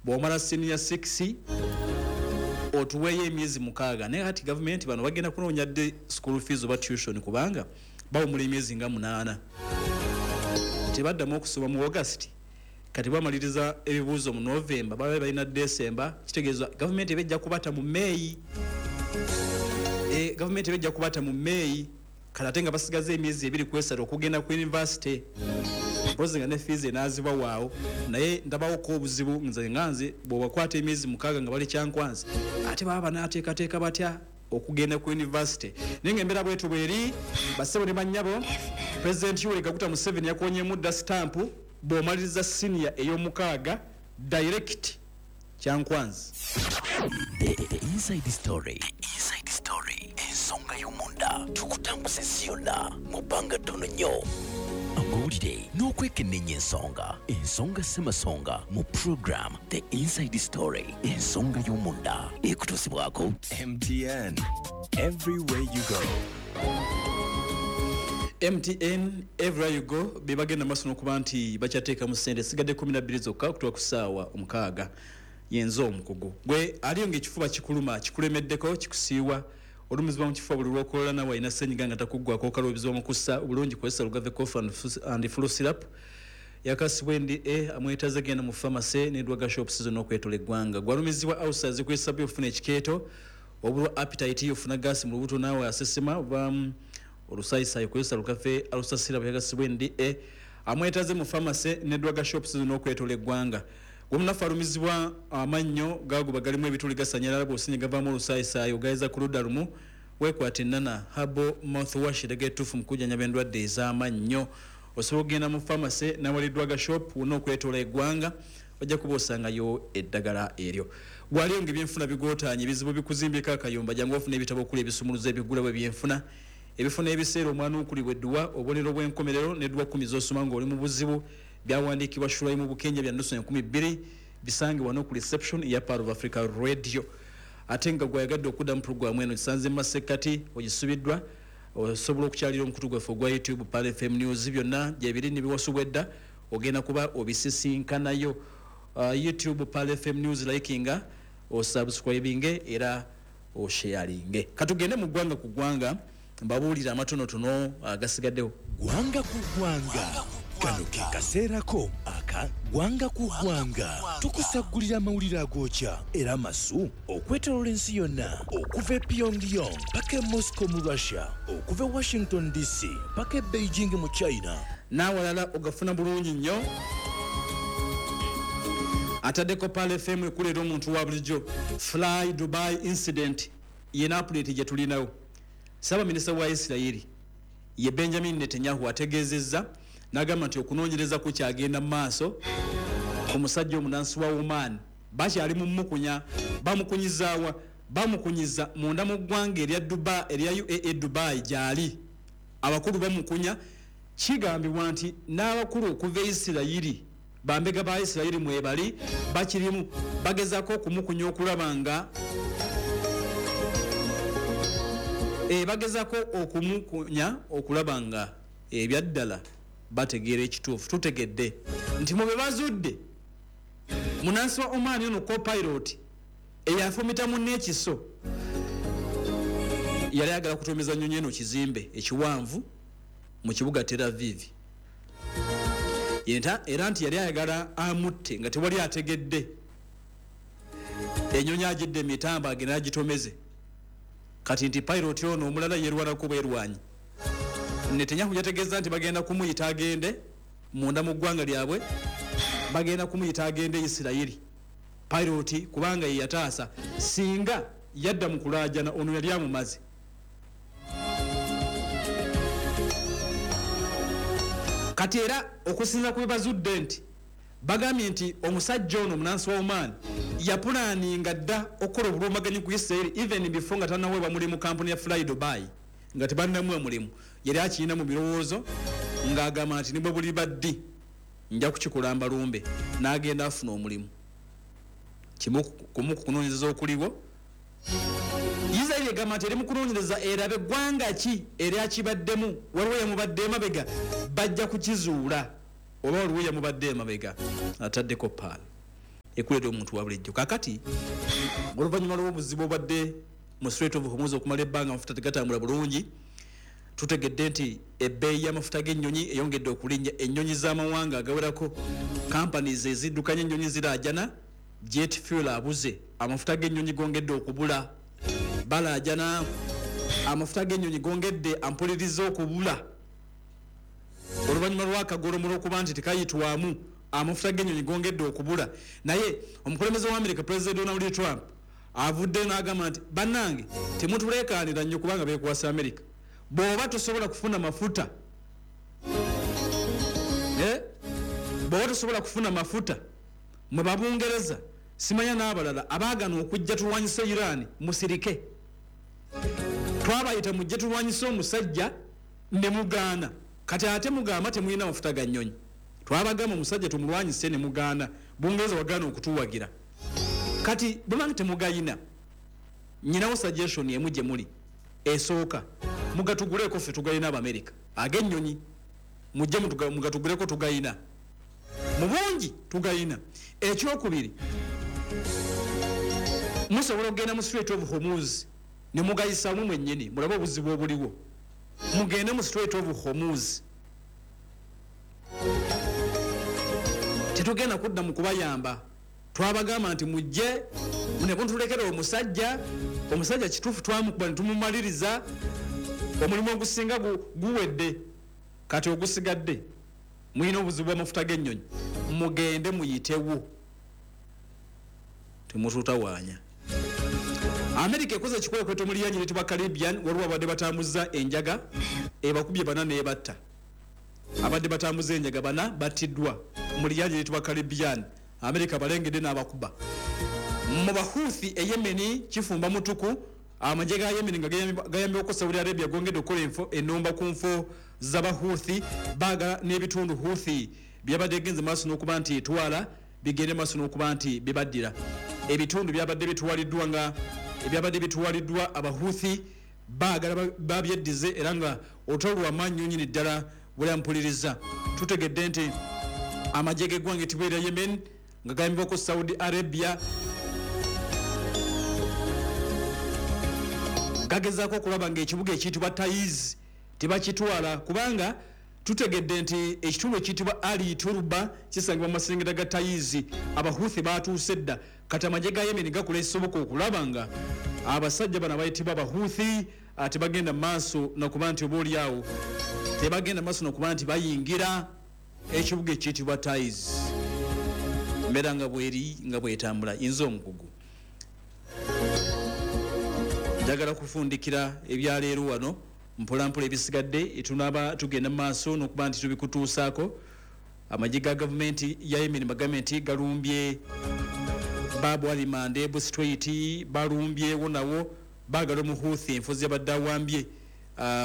Bw'omala senior 6, otuweeyo emyezi 6. Naye kati gavumenti bano bagenda kunoonya dde school fees oba tuition, kubanga bawumula emyezi nga 8, tebaddamu okusoma mu August. Kati bamaliriza ebibuuzo mu November, baba balina December. Kitegeeza gavumenti eba ejja kubata mu May. Gavumenti eba ejja kubata mu May. Kati ate nga basigaza emyezi 2 ku 3 okugenda ku university, mpozi nga ne fees enaazibwa waawo. Naye ndabawoko obuzibu nze nga nze, bw'obakwata emyezi 6 nga bali Kyankwanzi, ate baba banaateekateeka batya okugenda ku university? Naye nga embeera bwetu bweri, bassebo ne bannyabo, President Yoweri Kaguta Museveni yakonyemu dda sitampu, bw'omaliriza senior ey'omukaaga, direct Kyankwanzi. The Inside Story. Inside Story. Ensonga y'omunda tukutambuza ensi yonna mu bbanga ttono nnyo. Amawulire n'okwekenneenya ensonga. Ensonga ssemasonga mu program The Inside Story. Ensonga y'omunda ekutuusibwako MTN. Everywhere you go. MTN everywhere you go, be bagenda maaso n'okuba nti bakyateekamu ssente. Sigadde 12 zokka okutuuka ku ssaawa 6. Yenze omukugu gwe aliyo ng'ekifuba kikuluma, kikulemeddeko, kikusiiwa, olumizibwa mu kifuba buli lw'okolola, nawe alina ssenyiga nga takuggwako, okaluubizibwa mu kussa obulungi, kozesa Lugave Cough and Flu Syrup yakasibwa NDA. Amwetaze genda mu pharmacy ne drug shops zonna okwetola eggwanga. Gwalumizibwa ulcers, kwesabye ofuna ekikeeto, obulwa appetite, ofuna gaasi mu lubuto, naawe asesema oba olusaayisayi, kozesa Lugave Ulcer Syrup yakasibwa NDA. Amwetaze mu pharmacy ne drug shops zonna okwetola eggwanga. Gwomunafu alumizibwa amannyo gaguba galimu ebituli, gasanyalala, bw'osinye gavaamu olusaayisayi, ogayeza ku ludda lumu, weekwata Ennana Herbal Mouthwash, eddagala ettuufu mu kujjanjaba endwadde ez'amannyo. Osobola okugenda mu pharmacy nawali drug shop wonna okwetoola eggwanga, ojja kuba osangayo eddagala eryo. Gwaliyo nga ebyenfuna bigootaanye, ebizibu bikuzimbeko akayumba, jangu ofuna ebitabo okuli ebisumuluzo ebigulawo ebyenfuna, ebifuna ebiseera omwanuukulibwa edduwa, obubonero bw'enkomerero n'edduwa 10 z'osoma ng'oli mu buzibu, byawandiikibwa Shulaimu Bukenja, bya nusu 2000. Bisange wano ku reception ya Pearl of Africa Radio. Ate nga gweyagadde okudda mu puroguramu eno kisanze mu masekkati ogisubiddwa, osobola okukyalira omukutu gwaffe ogwa YouTube, Pearl FM News. Byonna gyebiri nebiwasubwa edda, ogenda kuba obisisinkanayo. YouTube Pearl FM News, likinga, osubscribinge era osharinge. Katugende mu ggwanga ku ggwanga, mbabuulire amatonotono agasigaddewo. Ggwanga ku ggwanga, kano ke kaseerako aka ggwanga ku ggwanga. Tukusaggulira amawulire agookya era amasu okwetooloola ensi yonna, okuva e Pyongyang paka e Moscow mu Russia, okuva e Washington DC paka e Beijing mu China. N'awalala ogafuna bulungi nnyo. Ataddeko Pearl FM, ekuleera omuntu wa bulijjo. Fly Dubai incident yena update gye tulinawo. Ssaabaminisita wa Isirayiri ye Benjamin Netanyahu ategeezezza n'agamba nti okunoonyereza kukyagenda mu maaso ku musajja omunansi wa Oman. Bakyali mu mukunya. Bamukunyizaawa? Bamukunyiza munda mu ggwanga erya Dubai, erya UAE, Dubai gyali. Abakulu bamukunya. Kigambibwa nti n'abakulu okuva e Isirayiri, bambega ba Isirayiri mwebali, bakirimu bagezaako okumukunya okulaba nga bagezaako okumukunya okulaba nga ebyaddala bategeera ekituufu. Tutegedde nti mu be bazudde, munansi wa Oman ono copilot eyafumita munne ekiso yali ayagala kutomeza nnyonyi eno kizimbe ekiwanvu mu kibuga Tel Aviv. Era nti yali ayagala amutte nga tewali ategedde, ennyonyi agidde emitambo agenda agitomeze. Kati nti pilot ono omulala yerwanako bwerwanyi. Netanyahu yategeeza nti bagenda kumuyita agende munda mu ggwanga lyabwe, bagenda kumuyita agende Isirayiri pilot, kubanga ye yataasa. Singa yadda mu kulaajana, ono yali amumaze. Kati era okusinziira ku bye bazudde, nti bagambye nti omusajja ono omunansi wa Oman yapulaninga dda okukola obulumbaganyi ku Isirayiri even before nga tanaweebwa mulimu kampuni ya Fly Dubai. Nga tebannamuwa mulimu yali akirina mu birowoozo ng'agamba nti nibwe buliba ddi nja kukikola mbalumbe, n'agenda afuna omulimu. Kimu kumu ku kunoonyereza okuliwo, Isirayiri egamba nti eri mu kunoonyereza erabe eggwanga ki eryakibaddemu, waliwo yamubadde emabega. Bajja kukizuula oba waliwo yamubadde emabega. Ataddeko Pearl. Ekuleeta omuntu wa bulijjo. Kakati oluvannyuma lw'obuzibu obadde mu Strait of Hormuz okumala ebbanga amafuta tegatambula bulungi, tutegedde nti ebbeeyi y'amafuta g'ennyonyi eyongedde okulinnya. Ennyonyi z'amawanga agawerako, companies eziddukanya ennyonyi ziraajana jet fuel abuze, amafuta g'ennyonyi gongedde okubula, balaajana amafuta g'ennyonyi gongedde ampuliriza okubula oluvannyuma lw'akagolomolo okuba nti tekayitwamu, amafuta g'ennyonyi gongedde okubula. Naye omukulembeze wa America, President Donald Trump, avudde n'agamba nti bannange temutuleekaanira nnyo kubanga beekwasa America. Bw'oba tosobola kufuna mafuta, bw'oba tosobola kufuna mafuta, mwe Babungereza simanya n'abalala abaagana okujja tulwanyise Iran, musirike. Twabayita mujje tulwanyise omusajja ne mugaana, kati ate mugamba temulina mafuta ga nnyonyi. Twabagamba omusajja tumulwanyise ne mugaana, Bungereza wagaana okutuwagira, kati bwemanga temugayina, nyinawo suggestion emu gye muli esooka, mugatuguleko ffe tugayina Abamerika ag'ennyonyi, mujje mugatuguleko tugayina mu bungi, tugayina. Ekyokubiri, musobola okugenda mu Strait of Hormuz ne mugayisamu mwennyini mulabe obuzibu obuliwo. Mugende mu Strait of Hormuz, tetugenda kudda mu kubayamba. Twabagamba nti mujje ne mutulekera omusajja, omusajja kituufu twamukuba ne tumumaliriza, omulimu ogusinga guwedde, kati ogusigadde mulina obuzibu bw'amafuta g'ennyonyi, mugende muyitewo, temututawaanya. America ekoze ekikwekweto mu lyanyi eritibwa Caribbean, waliwo abadde batambuza enjaga ebakubye bana n'ebatta. Abadde batambuza enjaga bana battiddwa mu lyanyi eritibwa Caribbean, America balengedde n'abakuba. Mu Bahuthi e Yemeni kifumba mutuku, amagye ga Yemeni nga gayambibwako Saudi Arabia gongedde okukola ennumba ku nfo z'Abahuthi, baagala n'ebitundu Huthi byabadde genze maaso n'okuba nti etwala bigende maaso n'okuba nti bibaddira. Ebitundu byabadde bitwaliddwa nga ebyabadde bitwaliddwa Abahuthi baagala babyeddize, era nga olutalo lw'amaanyi nnyo nnyini ddala bwe mpuliriza. Tutegedde nti amagye g'eggwanga etibwa erya Yemen nga gayambibwako Saudi Arabia gagezaako okulaba ng'ekibuga ekiyitibwa Taiz tebakitwala, kubanga tutegedde nti ekitundu ekiyitibwa Ali Turba kisangibwa mu maserengeta ga Taiz. Abahuthi batuuse dda, kati amagye ga Yemen gakola ekisoboka okulaba nga abasajja bano abayitibwa Abahuthi tebagenda maaso nakuba nti oba oliawo tebagenda maaso nakuba nti bayingira ekibuga ekiyitibwa Taiz. Embeera nga bweri nga bwetambula. Inza omukugu njagala kufundikira ebyaleero wano mpolampola, ebisigadde tunaba tugenda mu maaso n'okuba nti tubikutuusaako. Amagye ga gavumenti ya Yemen bagambe nti galumbye Babu Alimande Strait, balumbyewo nawo baagala Omuhuthi enfuzi yabadde awambye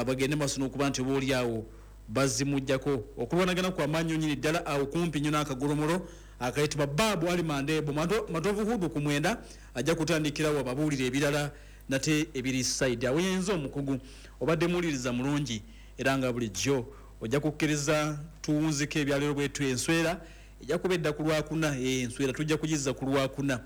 bagende maaso n'okuba nti oba oliawo bazimuggyako. Okulwanagana kwamaanyi nnyini ddala awo kumpi nnyo n'akagolomolo akayitibwa Babu Alimandebo. Matovu Hudu ku 9 ajja kutandikirawo ababuulire ebirala nate ebiri side awo. Yenza omukugu obadde muwuliriza mulungi, era nga bulijjo ojja kukkiriza tuwunzike ebyaleero bwetu. Enswera ejja kuba edda ku Lwakuna, enswera tujja kugizza ku Lwakuna,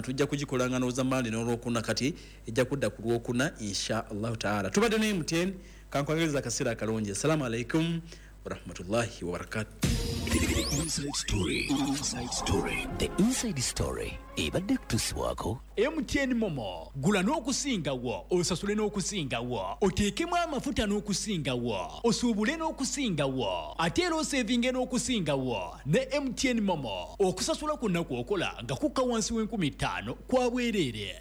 tujja kugikola nga ndowooza Mande n'Olwokuna, kati ejja kudda ku Lwokuna insha Allahu taala. Tubadde ne MTN, kankwangereza akaseera akalungi. Assalamu alaikum warahmatullahi wabarakatuh. The Inside Story. Inside Story. The Inside Story ebadde kutuusibwako MTN Momo. Gula n'okusingawo, osasule n'okusingawo, oteekemu amafuta n'okusingawo, osuubule n'okusingawo, ate era osevinge n'okusingawo ne MTN Momo. Okusasula kwonna kw'okola nga kukka wansi w'5,000 kwa bwereere.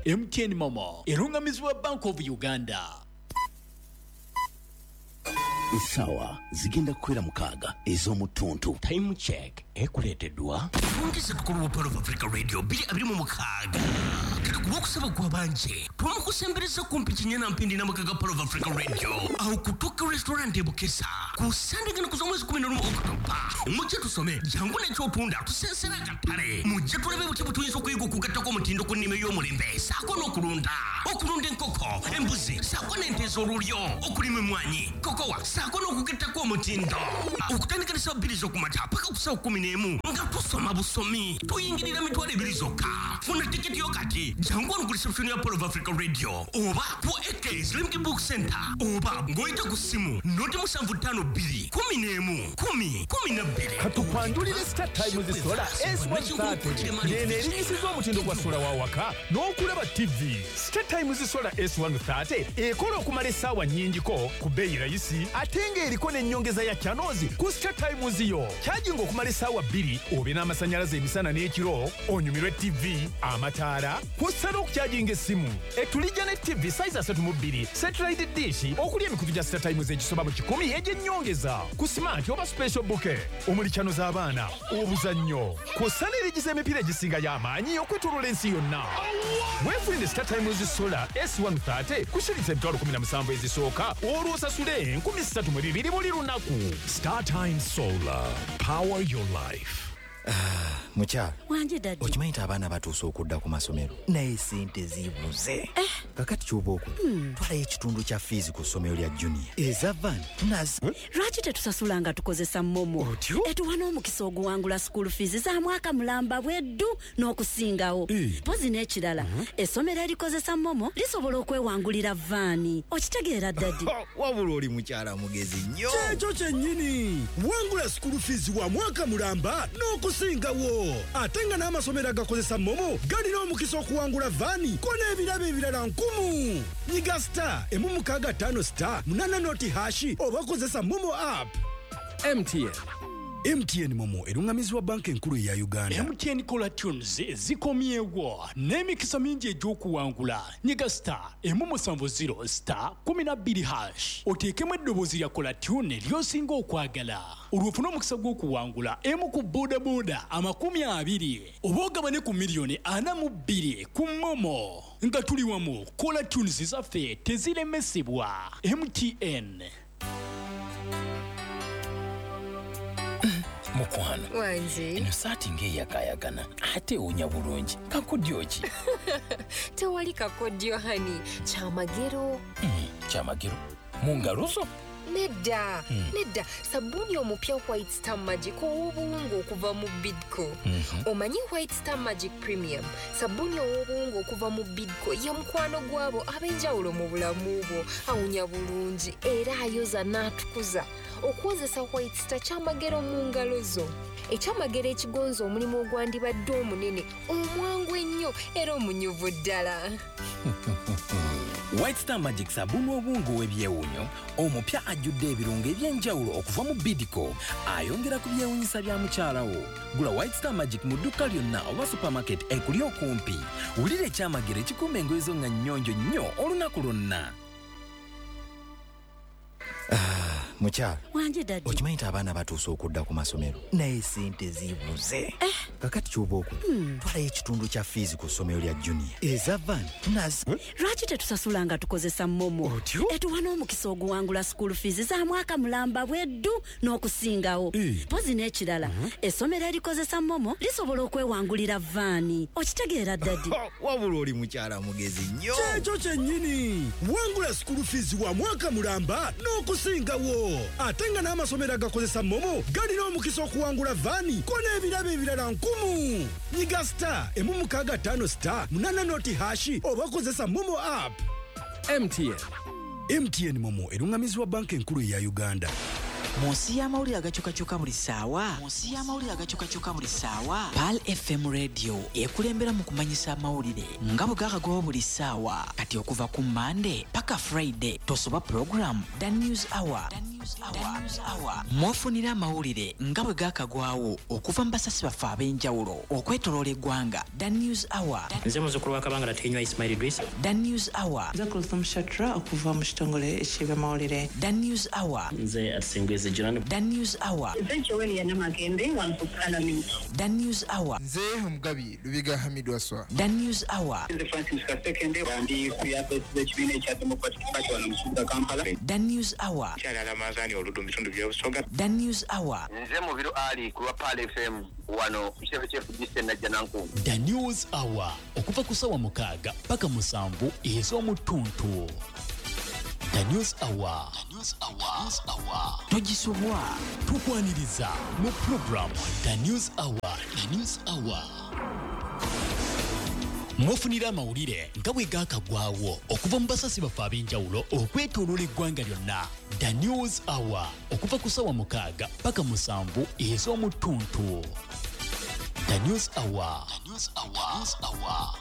MTN Momo erungamizibwa Bank of Uganda. Essaawa zigenda kukwera 6 ez'omuttuntu. Time check ekuleeteddwa Fungisa tukulu wa Pearl of Africa Radio 2026. Kati ku lwokusaba kwa bangi twamukusembereza kumpi kinyana mpindi n'amaka ga Pearl of Africa Radio awo ku Tokyo Restaurant e Bukesa ku Sande gano kuza mwezi 11 Oktoba. Mujje tusome, jangu n'ekyotunda tusensera akatale, mujje tulabe butya bwe tuyinza okuyiga okugattako omutindo ku nnima ey'omulembe ssaako n'okulunda, okulunda enkoko, embuzi ssaako n'ente ez'olulyo, okulima emmwanyi, kokowa. Saako n'okugettako omutindo. Okutandika ne ssaawa 2 z'okumakya paka ku ssaawa 11 nga tusoma busomi. Tuyingirira 20,000 zokka. Funa tiketi yo kati. Jangu wano ku reception ya Pearl of Africa Radio oba ku AK Slimki Book Center oba ng'oyita ku ssimu 075 2 11 10 12. Katukwanjulire Star Times Solar S130 ng'eno erinyisiza omutindo gwa sola wa waka n'okulaba TV. Star Times Solar S130 ekola okumala essaawa nnyingiko ku bbeeyi rayisi ate ng'eriko n'ennyongeza ya channels ku Star Times yo. Kyajinga okumala essaawa 2 obe n'amasannyalaze emisana n'ekiro, onyumirwe TV, amataala, kw'ossa n'okukyajinga essimu. Etulijja ne TV size 32, satellite dish okuli emikutu gya Star Times egisoba mu 100 egy'ennyongeza ku smart oba special bouquet omuli channel z'abaana, obuzannyo, kw'ossa n'erigiza emipiira egisinga y'amaanyi okwetooloola ensi yonna. Weefunire Star Times Solar S130 ku shilingi 17,000 ezisooka olwo osasule 3,200 buli lunaku. Star Times Solar, power your life. Mukyala wanje daddy, okimanyi nti abaana batuuse okudda ku masomero naye sente zibuze. Kakati ky'oba okola, twalayo ekitundu kya fiizi ku ssomero lya junior eza van nazo. Lwaki tetusasula nga tukozesa MoMo? Etuwa n'omukisa oguwangula school fees za mwaka mulamba bweddu n'okusingawo. Mpozi n'ekirala, essomero erikozesa MoMo lisobola okwewangulira vaani. Okitegeera daddy? Wabula oli mukyala mugezi nnyo. Kyekyo kyennyini, wangula school fees wa mwaka mulamba n'okusingawo. Ate nga n'amasomero agakozesa MoMo galina omukisa okuwangula vaani ko n'ebirabo ebirala 10. Nyiga star 165 star 8 noti hashi oba kozesa MoMo app. MTN. MTN MoMo erungamizibwa banka enkulu eya Uganda. MTN Caller Tunes zikomyewo n'emikisa mingi egy'okuwangula. Nyiga star 170 star 12 hash oteekemu eddoboozi lya Caller Tune ly'osinga okwagala, olwo ofune omukisa gw'okuwangula emu ku bodaboda 20 oba ogabane ku miliyoni 42 ku MoMo. Nga tuli wamu, Caller Tunes zaffe teziremesebwa. MTN. Mukwano wanje, eno saati ng'eyakayakana ate ewunya bulungi. Kakodyo ki? Tewali kakodyo hani, kyamagero. Kyamagero mu ngalo zo? Nedda, nedda. Sabbuuni omupya White Star Magic ow'obuwunga okuva mu Bidco. Omanyi White Star Magic Premium, sabbuuni ow'obuwunga okuva mu Bidco ye mukwano gwabo ab'enjawulo mu bulamu bwo. Awunya bulungi era ayoza n'atukuza. Okwozesa White Star kyamagero mu ngalo zo. Ekyamagero ekigonza omulimu ogwandibadde omunene, omwangu ennyo era omunyuvu ddala. White Star Magic sabbuuni w'obuwunga ow'ebyewuunyo omupya ajjudde ebirungo eby'enjawulo okuva mu Bidco, ayongera ku byewuunyisa bya mukyala wo. Gula White Star Magic mu dduuka lyonna oba supermarket ekuli okumpi. Wulira ekyamagero ekikuuma engoye zo nga nnyonjo nnyo olunaku lwonna. Mukyala wanje daddy, okimanyi nti abaana batuuse okudda ku masomero naye sente zibuze. Kakati ky'oba okola, twalayo ekitundu kya fiizi ku ssomero lya junior eza van nazo. Lwaki tetusasula nga tukozesa MoMo? Etuwa n'omukisa oguwangula school fees za mwaka mulamba bweddu n'okusingawo. Mpozi n'ekirala, essomero erikozesa MoMo lisobola okwewangulira vaani. Okitegeera daddy? Wabula oli mukyala mugezi nnyo. Kyekyo kyennyini, wangula school fees wa mwaka mulamba n'okusingawo. Ate nga n'amasomero agakozesa MoMo galina omukisa okuwangula vaani ko n'ebirabo ebirala 10. Nyiga star 165 star 8 noti hashi oba kozesa MoMo app. MTN. MTN MoMo erungamizibwa banka enkulu eya Uganda. Mu nsi y'amawulire agakyukakyuka buli ssaawa, mu nsi y'amawulire agakyukakyuka buli ssaawa, Pearl FM Radio ekulembera mu kumanyisa amawulire nga bwe gakagwawo buli ssaawa. Kati okuva ku Monday paka Friday tosoba program The News Hour. Mwofunira amawulire nga bwe gakagwawo okuva mu basasi baffe ab'enjawulo okwetoloola eggwanga. The News Hour. Nze muzzukulu wa Kabangala Tenywa Ismail Idris. The News Hour. Nze Kulthum Shatra okuva mu kitongole eky'ebyamawulire. The News Hour. Nze Atsingwezi Jonan. The News Hour. Nze Joel Namagembe wano ku Parliament. The News Hour. Nze Omugabi Lubiga Hamid Waswa. The News Hour. Nze Francis Kasekende ndi ku yafesi z'ekibiina ekya Democratic Party wano mu kibuga Kampala. The News Hour. Kyalala Manzani Oludu mu bitundu by'Obusoga. The News Hour. Nze Mubiru Ali ku lwa Pearl FM wano ku kitebe ky'FDC Najjanankumbi. The News Hour okuva ku ssaawa 6 paka 7 ez'omutuntu. The News Hour. The News Hour. News Hour. Togisubwa. Tukwaniriza mu program The News Hour. The News Hour. Mwofunira amawulire nga bwe gaakagwawo okuva mu basasi baffe ab'enjawulo okwetooloola eggwanga lyonna. The News Hour okuva ku ssaawa 6 paka 7 ez'omu ttuntu. The News Hour. The News Hour. News Hour.